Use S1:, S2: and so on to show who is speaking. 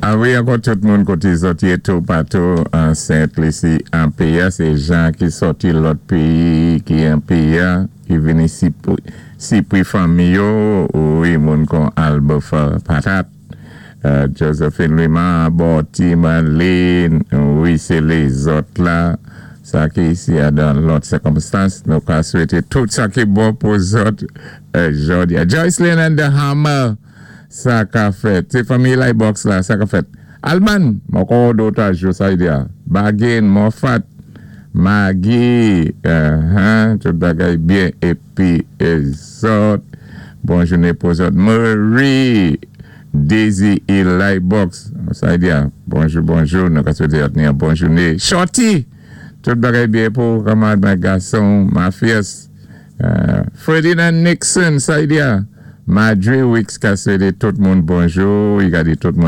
S1: A wi, ankò tout moun koté zòt yé toupatou an Sent Lisi an péyi, sé jan ki sòti lòt péyi ki an péyi ki vini sipwi fanmi yo, wi, moun kon Albofa Patat, Josephine Lima, Borti Marlene, wi, sé lézòt la, sa ki isi a dan lòt sikonstans, nou ka swété tout sa ki bon pou zòt jòdi a. Joycelyn and the Hammer, sa ka fèt. Sé fanmi Box la, sa ka fèt. Alman, ankò dòt jou sa di a. Bagin, Moffat, Maggie, tout bagay byen. Épi, zòt, bon jounen pou zòt. Marie, Daisy Eli Box, sa di a. Bonjou, bonjou, nou ka swété yon bon jounen. Shorty, tout bagay byen pou kanmarad mwen gason, Mafias, Ferdinand Nixon, sa di a. Madre Wicks ka swété tout moun bonjou, i ka di tout moun.